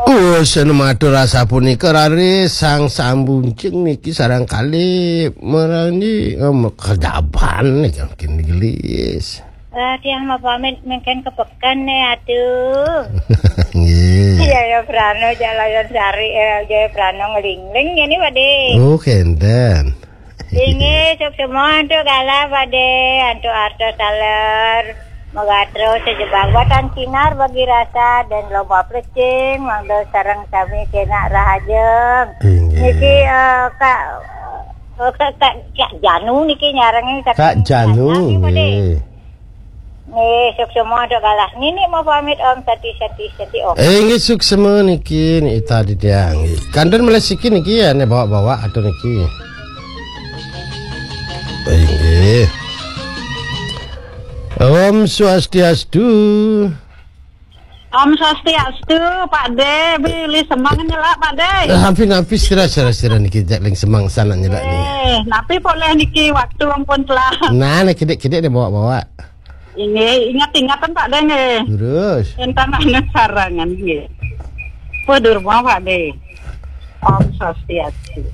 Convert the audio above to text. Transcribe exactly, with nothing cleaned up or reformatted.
Wes, anu matur asapunika raris sang sambuncing niki sareng kalih merani, em, kejaban niki mungkin gelis. Lah, tiang mau pamit mungkin ke pekan nih, aduh. Nggih. Jaya Prano, Jalayan Sari, eh, Jaya Prano ngelingling ini, Pade. Oh, kenten. Inggih, suksma antuk galah, Pade, antuk arta taler. Moga terus sejebak watan sinar bagi rasa dan lomba plecing, mangda sareng sami kenak rahajeng. Inggih. Niki, eh, Kak, eh, Kak, Kak, Kak Janu niki nyarengin Kak Kak Janu, Janu, Pade. Nggih. Nggih, suksma antuk galah. Nini mau pamit, Om, sati, sati, sati, Om. Eh, nggih, suksma niki, niki tadi tiang. Nggih. Kanten melih siki niki ya, nek bawa-bawa atau niki. Eh, nggih. Om Swastiastu. Om Swastiastu, Pade, bilih semeng nyelak, Pade. Eh, hampir-hampir sira, sira, sira niki jak ling semeng sana nyelak nih. Eh, napi polih niki waktu ampun telah. Nah, nek kidik-kidik dia bawa-bawa. Inggih, ingat-ingatan, Pade, nggih. Terus. Entan anak sarangan, nggih. Puh durma, Pade. Om Swastiastu.